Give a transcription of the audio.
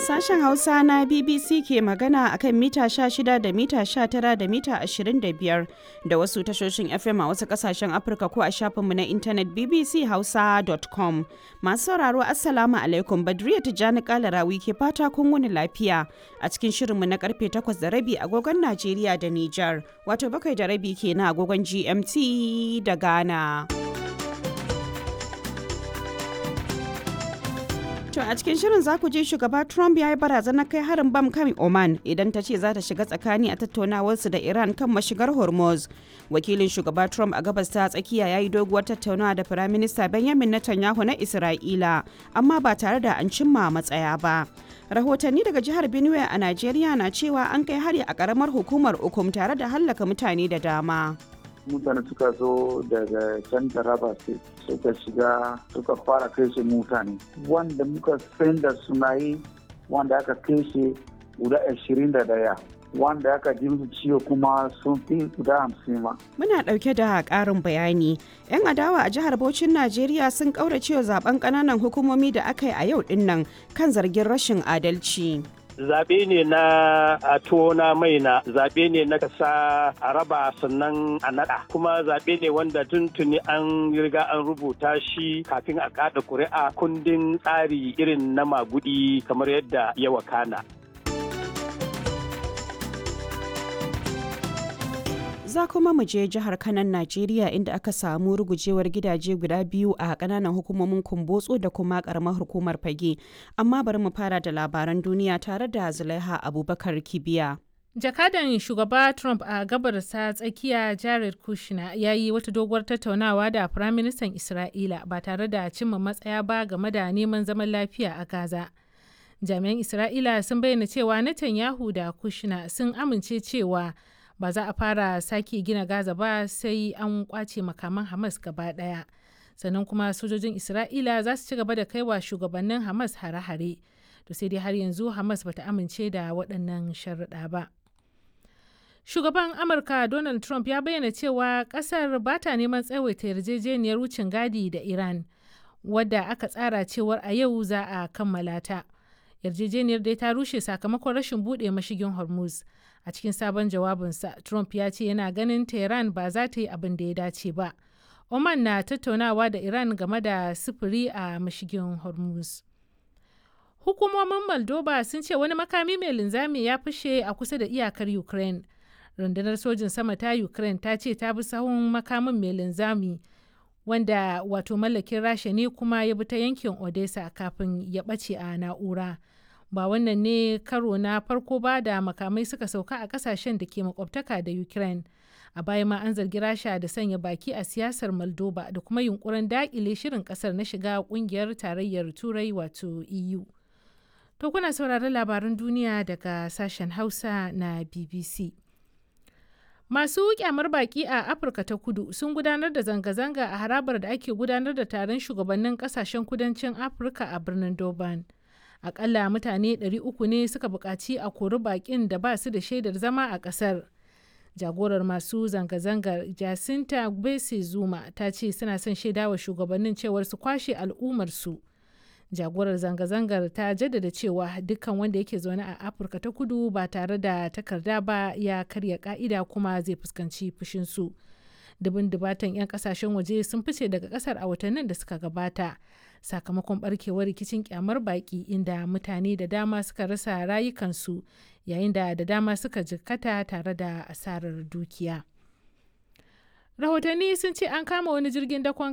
Sashen Hausa na BBC ke magana a kan mita 16 da mita 19 da mita 25 da wasu tashoshin FM a wasu kasashen Afirka ko a shafinmu na intanet bbchausa.com. Masu sauraro, Assalamu alaikum, Badriya Tijjani Kalarawi ke fata kun wuni lafiya a cikin shirinmu na karfe 8:30 agogon Najeriya da Nijar, wato 7:30 kenan agogon GMT da Ghana. To, a cikin shirin za ku ji shugaba Trump ya yi barazanar kai harin bam kan Oman idan ta ce za ta shiga tsakani a tattaunawarsu da Iran kan mashigar Hormuz. Wakilin shugaba Trump a gabas ta tsakiya ya yi doguwar tattaunawa da Firaminista Benjamin Netanyahu na Isra'ila, amma ba tare da an cimma matsaya ba. Rahotanni daga jihar Benue a Najeriya na cewa an kai hari a karamar hukumar Ukum tare da hallaka mutane da dama. Mutane suka zo daga can Taraba State, suka shiga, suka fara kashe mutane. Wanda muka san da suna yi, wanda aka kashe guda 21, wanda aka ji musu ciwo kuma sun fi guda 50 ma. Muna ɗauke da ƙarin bayani. 'Yan adawa a jihar Bauchin Najeriya sun ƙauracewa zaben ƙananan hukumomi da aka yi a yau ɗinnan kan zargin rashin adalci. Zaɓe ne na a tona mai na zaɓe ne na kasa a raba sannan a naɗa, kuma zaɓe ne wanda tuntuni an riga an rubuta shi kafin a kaɗa ƙuri'a, kundin tsari irin na magudi kamar yadda ya wakana. Za kuma mu je jihar Kanan Najeriya, inda aka samu rugujewar gidaje guda biyu a kananan hukumomin Kumbotso da kuma karamar hukumar Fage. Amma bari mu fara da labaran duniya tare da Zulaiha Abubakar Kibiya. Jakadan shugaba Trump a gabar ta tsakiya Jared Kushner ya yi wata doguwar tattaunawa da Firaministan Isra'ila ba tare da cimma matsaya ba game da neman zaman lafiya a Gaza. Jami'an Isra'ila sun bayyana cewa Netanyahu da Kushner sun amince cewa ba za a fara sake gina Gaza ba sai an kwace makaman Hamas gaba daya. Sannan kuma sojojin Isra'ila za su ci gaba da kaiwa shugabannin Hamas hare-hare. To sai dai har yanzu Hamas bata amince da waɗannan sharuɗa ba. Shugaban Amurka Donald Trump ya bayyana cewa ƙasar ba ta neman tsawaita yarjejeniyar wucin gadi da Iran, wadda aka tsara cewar a yau za a kammala ta. Yarjejeniyar dai ta rushe sakamakon rashin buɗe mashigin Hormuz. A cikin sabon jawabinsa, Trump ya ce yana ganin Tehran ba za ta yi abin da ya dace ba. Oman na tattaunawa da Iran game da sufuri a mashigin Hormuz. Hukumomin Moldova sun ce wani makami mai linzami ya fashe a kusa da iyakar Ukraine. Rundunar sojin sama ta Ukraine ta ce ta bi sahun makamin mai linzami, wanda wato mallakin Rasha ne, kuma ya bi ta yankin Odessa kafin ya ɓace a na'ura. Ba wannan ne karo na farko ba da makamai suka sauka a kasashen da ke makwabtaka da Ukraine. A baya ma an zargi Rasha da sanya baki a siyasar Moldova da kuma yunkurin dakile shirin kasar na shiga kungiyar Tarayyar Turai, wato EU. To, kuna sauraron labaran duniya daga sashen Hausa na BBC. Masu kyamar baki a Afirka ta Kudu sun gudanar da zanga-zanga a harabar da ake gudanar da taron shugabannin kasashen kudancin Afirka a birnin Durban. Akalla mutane 300 ne suka buƙaci a kori baƙin da ba su da shaidar zama a ƙasar. Jagorar masu zanga-zangar, Jacinta Gbese Zuma, ta ce suna son shaidawa shugabannin cewar su kwashe al'ummarsu. Jagorar zanga-zangar ta jaddada cewa dukkan wanda yake zaune a Afirka ta Kudu ba tare da takarda ba ya karya ka'ida kuma zai fuskanci fushinsu. Dubin dubatan 'yan kasashen waje sun fice daga kasar a watannin da suka gabata sakamakon barkewar rikicin kyamar baki, inda mutane da dama suka rasa rayukansu yayin da da dama suka jikkata tare da asarar dukiya. Rahotanni sun ce an kama wani jirgin dakon